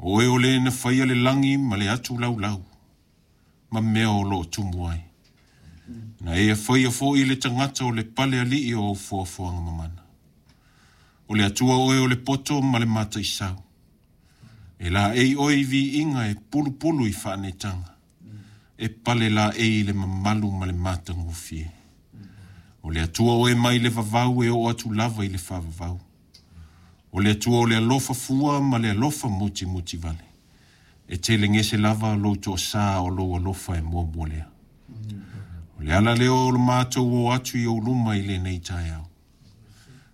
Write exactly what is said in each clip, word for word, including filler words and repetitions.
O oe o le na faia le lagi ma le atu laulau, ma mea o loo tumu ai. Na e faia foi le tagata o le pale alii o au foafoaga mamana. O le Atua oe o le poto ma le mataisau. E laei oe i viiga e pulupulu i faanetaga. E pale laei i le mamalu ma le matagofie. O le Atua oe mai le vavau e oo atu lava i le faavavau. O le Atua o le alofa fua ma le alofa mutimuti vale. E telegese lava lou toasā o lou alofa e muamua lea. O le ala lea o le matou o atu i ou luma i lenei taeao.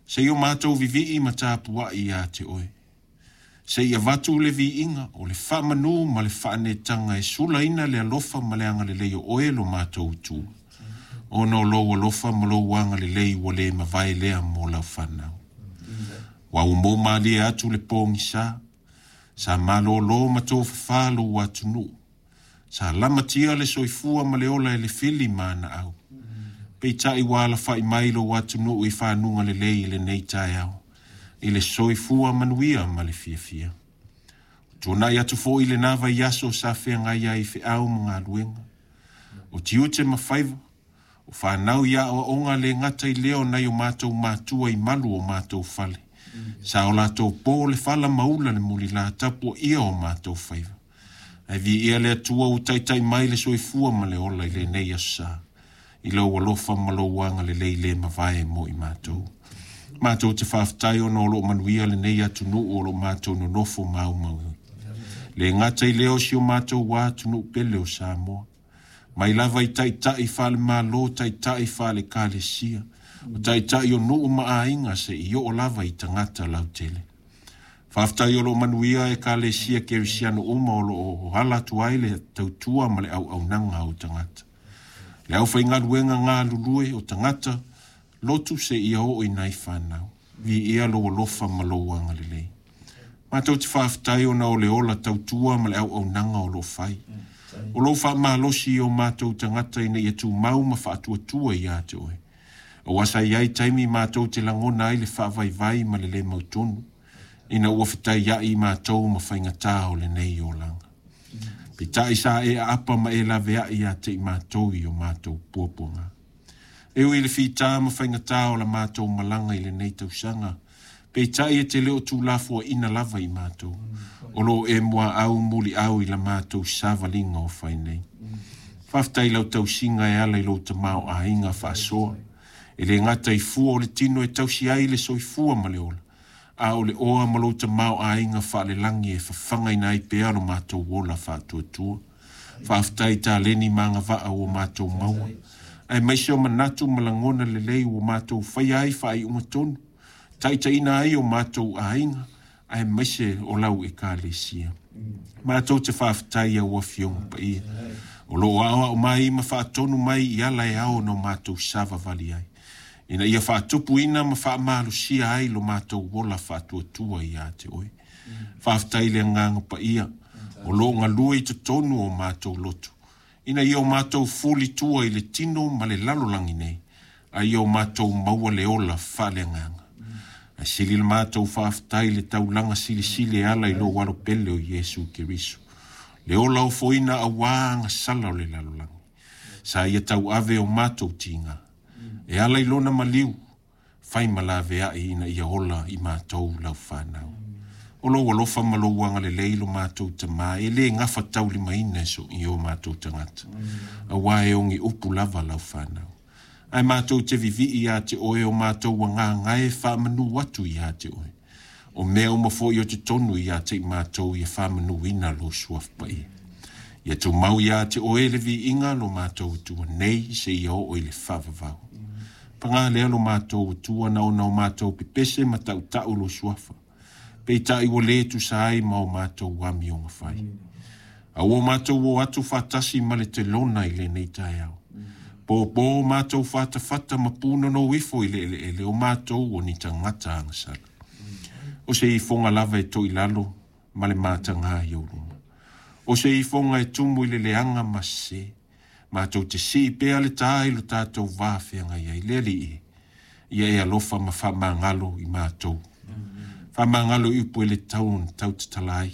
Se i o matou vivii ma tapuai ia te oe. Se i avatu le viiga o le faamanu ma le faanetaga e sulaina le alofa ma le agalelei o oe lo matou Atua. Ona o lou alofa ma lou agalelei ua le mavae lea mo lau fanau. Ua ua mou malie atu le pogisa, sa malōlō ma tofafā lou atunuu. Sa lamatia le soifua ma le ola e le fili ma ana au. Peitai ua alafai mai lou atunuu i fanuga lelei i lenei taeao, i le soifua manuia ma le fiafia. Ua tuanai atu foi lena vaiaso sa feagai ai i feau ma galuega. O tiute ma faiva, o fanau i aoaoga le gata i lea o nai o matou matua i malu o matou fale. Sa o latou po le fala ma ula le mulila tapuaia o matou faiva. Ae viia le Atua ua taitai mai le soifua ma le ola i lenei aso sa, i lou alofa ma lou agalelei le mavae mo i matou. Matou te faafetai ona o loo manuia lenei atunuu o loo matou nonofo maumau. Le gata i lea o si o matou atunuu pele o Samoa. Mai lava i taitai faale-Malo, taitai faale-Ekalesia, o taitai o nuu ma aiga se i oo lava i tagata lautele. Faafetai o loo manuia Ekalesia Kerisiano uma o loo ala atu ai le tautua ma le auaunaga o tagata. Le aufaigaluega galulue o tagata, lotu se ia oo i nai fanau. Viia lou alofa ma lou agalelei. Matou te faafetai ona o le ola tautua ma le auaunaga o loo fai. O lou faamalosi i o matou tagata ina ia tumau ma faatuatua ia te oe. Aua sa i ai taimi matou te lagona ai le faavaivai ma le le mautonu, ina ua fetaiai matou ma faigatā o lenei olaga. Peitai sa e aapa ma e laveai ia te i matou i o matou puapuaga. E ui i le fitā ma faigatā o la matou malaga i lenei tausaga, peitai e te le o tuulafoaiina lava i matou. O loo e muaau muliau i la matou savaliga o fai nei. Faafetai i lau tausiga e ala i lou tamaoaiga faasoa. E le gata i fua o le tino e tausi ai le soifua ma le ola, a o le oa ma lou tamaoaiga faalelagi e fafagaina ai pea lo matou ola faatuatua. Faafetai i taleni ma agavaa ua matou maua, aemaise o manatu ma lagona lelei ua matou faia ai faaiuga tonu, taitaiina ai o matou aiga, aemaise o lau Ekalesia. Matou te faafetai i au afioga paia, o loo aoao mai ma faatonu mai i ala e ao ona o matou savavali ai, ina ia faatupuina ma faamalosia ai lo matou ola faatuatua ia te oe. Faafetai i le agaga paia, o loo galue i totonu o matou loto, ina ia o matou fulitua i le tino ma le lalolagi nei, a ia o matou maua le ola faaleagaga. Ae sili le matou faafetai i le taulaga silisili e ala i lou alo pele o Iesu Keriso, le ola ofoina auā agasala o le lalolagi. Sa ia tauave o matou tiga, e ala i lona maliu, fai ma laveai ina ia ola i matou lau fanau. O lou alofa ma lou agalelei lo matou Tamā, e le gafataulimaina e so i o matou tagata, auā e ogi upu lava lau fanau. Ae matou te vivii ia te oe o matou agaga e faamanu atu ia te oe. O mea uma foi o totonu ia te i matou ia faamanuina lou suafa paia. Ia tumau ia te oe le viiga lo matou Atua nei se ia oo i le faavavau. Paga lea lo matou Atua na ona o matou pepese ma tautau lou suafa. Peitai ua le tusa ai ma o matou amioga fai. A ua matou o atu faatasi ma le telona i lenei taeao. Pōpō matou fatafata ma punono ifo i le eleele o matou o ni tagata agasala. O se ifoga lava e toilalo ma le matagā i ou luma. O se ifoga e tumu i le leaga ma sesē. Matou te sii pea le tā i lo tatou va feagai ai. Le Alii e, ia e alofa ma faamagalo i matou. Faamagalo i upu e le tatau ona tautatala ai.